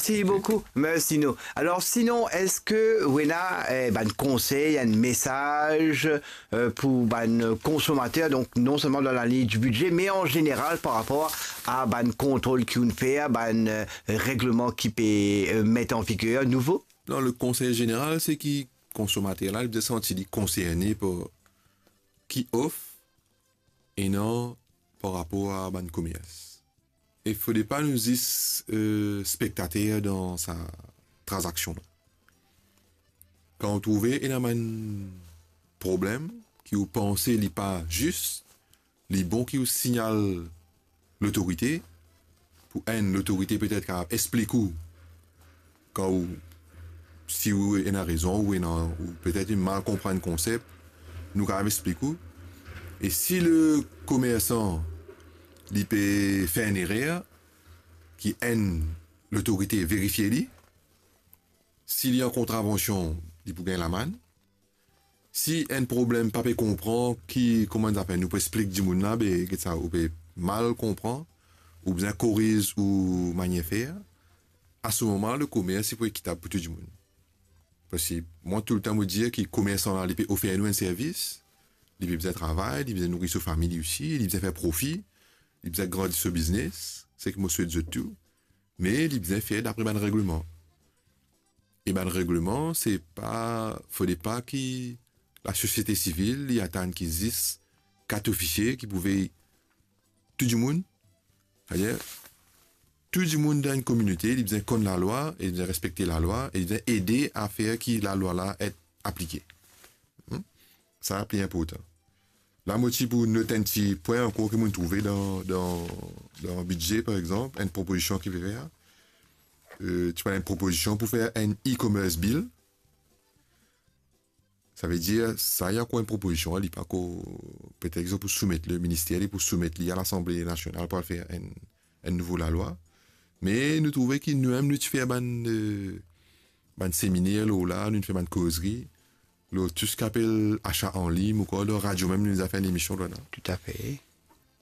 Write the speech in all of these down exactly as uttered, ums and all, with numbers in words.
Mersi boukou, mersi nou. Alor, sinon, eski ou ena, eh, bann konsey, enn mesaz, eh, pou bann konsomater, donk non selman dan laliy di bidze, me an zeneral par rapor a bann kontrol ki ou'nn fer, bann, eh, regleman ki pe, eh, met an viger nouvo? Non, le konsey zeneral, se ki konsomater la, li bizin santi li konserne par ki of ena par rapor a bann komers. E fode pa nou zis, eh, spektater dan sa tranzaksion la. Kan ou trouve ena bann problem ki ou panse li pa zis, li bon ki ou signal lotorite, pou enn lotorite petet kapav explik ou, kan ou, si ou ena rezon, ou ena, ou petet ou mal konprann konsep, nou kapav explik ou. E si le komersan, li pe fer enn erer, ki enn lotorite verifie li, si li an kontravansion, li pou gagn lamann. Si enn problem pa pe konpran ki, kouma nou apel, nou pou explik dimoun la, be, get sa, ou pe mal konpran, ou bizin koriz ou manier fer, a se moman, le komers, li pou ekitab pou tou dimoun. Parski mwa, toultan, mo dir ki komersan la, li pe ofer nou enn servis, li pe bizin travay, li bizin nouri so fami li osi, li bizin fer profi, li bizin grandi so biznes, seki mo swet zot tou, me li bizin fer dapre bann regleman. E bann regleman, se pa, fode pa ki lasosiete sivil, li atann ki zis kat ofisie ki pou vey tou dimoun. Savedir, tou dimoun dan enn kominote, li bizin konn lalwa, e li bizin respekte lalwa, e li bizin ede a fer ki lalwa la et aplike. Hmm? Sa pli inportan. La, mo ti pou not enn ti pwin ankor ki mo'nn trouve dan, dan, dan bidze, par exanp, enn propozision ki pe fer. Eh, ti pou enn propozision pou fer enn e-commerce bill. Savedir, sa, li ankor enn propozision, li pa ankor, petet zot pou soumet, le minister, li pou soumet li a Lasanble Nasional pou al fer enn, enn nouvo lalwa. Me nou trouve ki nou mem, nou ti fer bann, eh, bann seminer lor la, nou ti fer bann kozri lor tou seki apel asa an lign, ou ankor dan radio mem, nou deza fer enn emision lor la. Toutafe.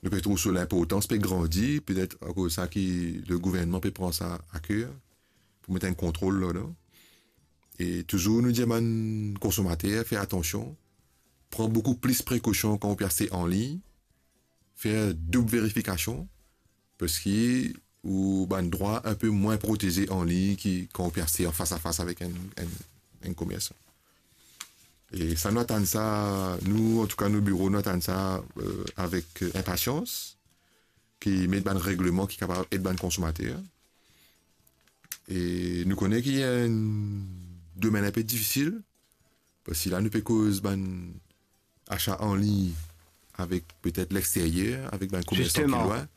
Nou pe trouv so linportans pe grandi, petet akoz sa ki le gouvernman pe pran sa a ker, pou met enn kontrol ladan. E touzour nou dir bann konsomater, fer atansion, pran boukou plis prekosion kan ou pe aste an lign, fer doub verifikasion, parski ou bann drwa inpe mwin proteze an lign ki kan ou pe aste an fas a fas avek enn, enn, enn komersan. E sa, nou atann sa, nou, antouka, nou biro, nou atann sa, eh, avek, eh, inpasians, ki met bann regleman ki kapav ed bann konsomater. E nou kone ki enn domenn inpe difisil, parski la nou pe koz bann asa an lign avek petet lexteryer, avek bann komersan ki lwin.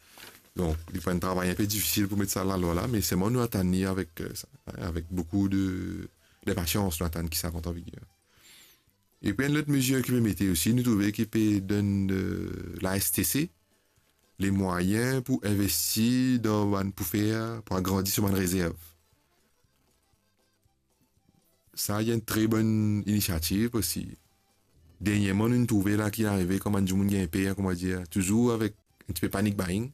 Donk, li pou enn travay inpe difisil pou met sa lalwa la, me selman nou atann li avek, eh, sa, avek boukou de, de pasians, nou atann ki sa rant an viger. Epi enn lot mezir ki pe mete osi, nou trouve ki pe donn, eh, la S T C lemwayin pou investi dan bann, pou fer, pou agrandi so bann rezerv. Sa, li enn tre bonn inisiativ, parski dernierman, nou trouve la ki arive, kouma dimoun gagn per, kouma dir, touzour avek enn tipe panic buying.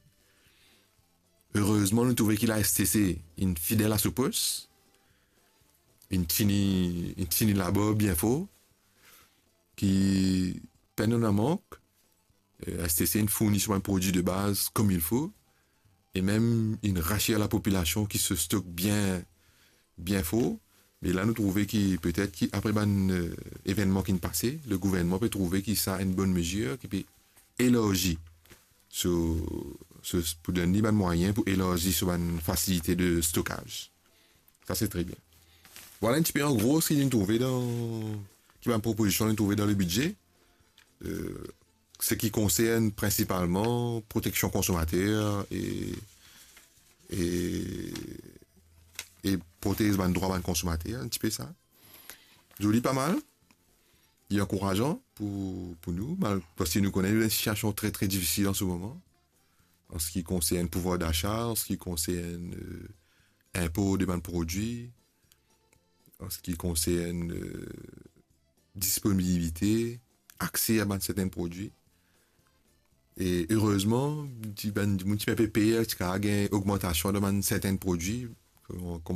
Erezman, nou trouve ki la S T C inn fidel a so pos, inn tini, inn tini labor bien for, ki pena mank, eh, S T C inn fourni so bann prodwi de baz kouma il fo, e mem inn rasir lapopilasion ki so stok bien, bien for. Me la, nou trouve ki petet ki apre bann, eh, evennman ki'nn pase, le gouvernman pe trouve ki sa enn bonn mezir ki pe elarzi so, so, pou donn li bann mwayin pou elarzi so bann fasilite de stokaz. Sa, se tre bien. Vwala enn tipe an gro seki nou trouve dan, ki bann propozision nou trouve dan le bidze. Eh, seki konsern prinsipalman proteksion konsomater e, e, e protez bann drwa bann konsomater, enn tipe sa. Zoli, pa mal. Li ankourazan pou, pou nou, mal-, parski nou kone nou dan enn sitiasion tre, tre difisil an se moman, an seki konsern pouvwar dasa, an seki konsern, eh, inpor de bann prodwi, an seki konsern, eh, disponibilite, akse a bann sertenn prodwi. E erezman, ti bann dimoun ti pe per ti kapav gagn ogmantasion dan bann sertenn prodwi, Kouma, kouma